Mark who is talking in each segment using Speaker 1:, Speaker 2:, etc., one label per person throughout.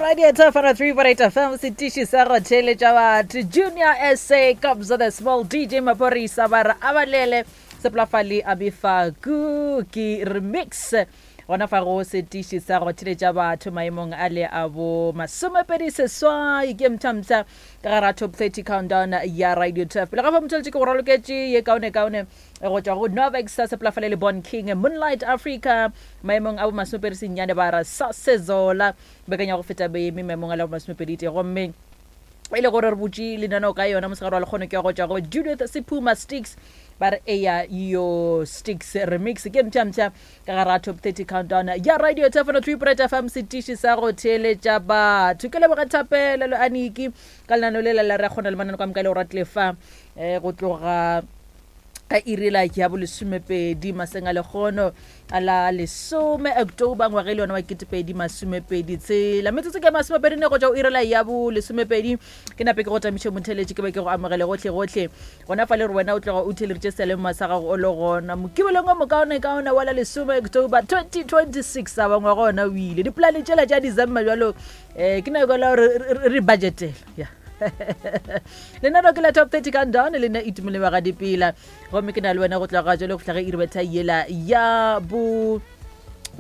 Speaker 1: Radio Top 103.8 FM setiši sa go theeletša batho Junior SA Kabza the Small DJ Maphorisa ba re abalele Seplafale a befaku ke remix gona fa go setiši sa go theeletša batho maemong a le a bo masomepedi seswai ke mthamtha ka gara top 30 countdown ya Radio Turf pele ga fa motheletše ke go raloketše ye kaone kaone go tšwa go Novex sa Seplafale le Bon King Moonlight Africa maemong a bo masomepedi senyane ba ra sa Sezola bekanya go feta beeme maemong a le bo masomepedi tee gomme e le gore re butše lenaneo ka yona mosegare wa lekgono ke ya go tšwa go Judith Sephuma Sticks ba re eya yo Sticks remix ke mpsha-mpsha ka gara top 30 countdown ya radio tefano 3 fm setiši sa go theeletša batho ke leboga thapelo le aniki ka lenaneo le la re kgona le manano ka moka e le go ratile fa um go tloga ka iri la ya bolesomepedi maseng a lekgono a la lesome october ngwaga e le yona wa ketepedi masomepedi tshela metsotso ke masomepedi ne go tšwa o iri la ya bolesomepedi ke nape ke go tamiše motheletše ke be ke go amogele gohle gohle gona fa le re wena o tloga o theleditše selemo sa gago o le gona mokibelong o mokaonekaone wa la lesome october 2026 a bangwe gona o ile dipolane tšela tša december jalo um ke nako la gore re budgetela ya lenano ke la top 30 countdown le nna itumele wa ga dipela gomme ke na le wena go tloga jalo go fihla ge iri betha yela ya bo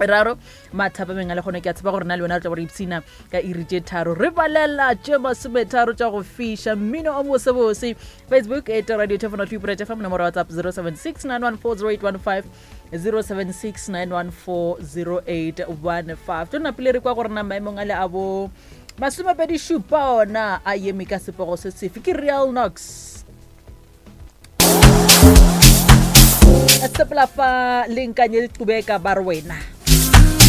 Speaker 1: raro mathapameng a le kgone ke a tshepa gore na le wena re tla gore ipshina ka iri tše tharo re balela tše masometharo tša go fiša mmino o mosebose facebook e radio telefono three fm nomoro whatsapp 076 914 076 914 tlo napile re kwa gore na maemong a le a bo masomepedi šupa ona a eme ka sepogo se sefe ke real nox sepela fa le nkanye qubeka ba re wena.